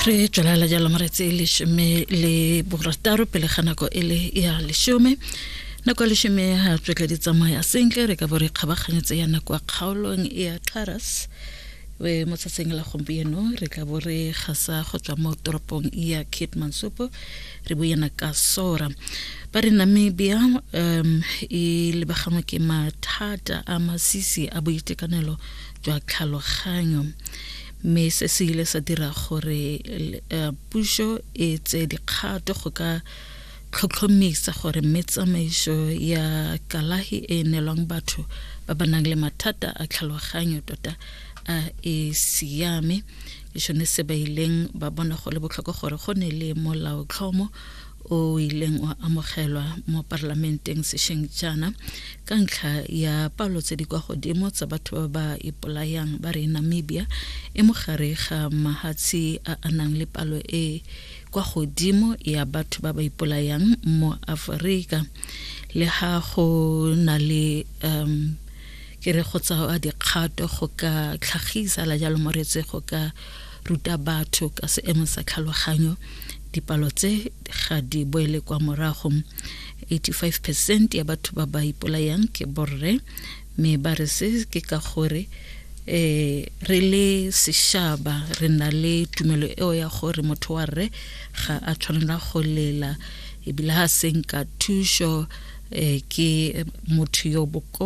Re tswelela jalo moretsi 16 pele ga nako e le ya 10. Nako ya 10 ga tswetle di tsamaya sentle, re ka bo re kgabaganyetse ya nako ya kgaolong ya Xaras. We mo tsatsing la gompieno re tla bo re gasa go tswa mo toropong ya Keetmanshoop, re buana ka sora. Ba re Namibia e lebagangwe ke mathata a masisi a boitekanelo jwa tlhaloganyo, mme se se ile sa dira gore puso e tseye dikgato go ka tlhotlhomisa gore mme tsamaiso ya kalahi e neelwang batho ba ba nang le mathata a tlhaloganyo tota a e siame. Ke sone se ba ileng ba bona go le botlhokwa gore go ne le molaotlhomo o ileng wa amogelwa mo parlamenteng sešweng jaana ka ntlha ya palo tse di kwa godimo tsa batho ba ba ipolayang. Ba re Namibia e mo gare ga mahatshe a a nang le palo e kwa godimo ya batho ba ba ipolayang mo Aforika. Le ha go na le ke re go tsaya dikgato go ka tlhagisa la jalo moretse go ka ruta batho ka seemo sa tlhaloganyo, dipalo tse ga di boele kwa morago. 85% ya batho ba ba ipolayang ke borre, mme ba re se ke ka gore re le sešaba re na le tumelo eo ya gore motho wa rre ga a tshwanela go lela, ebile ha senka thuso ke motho yo boko.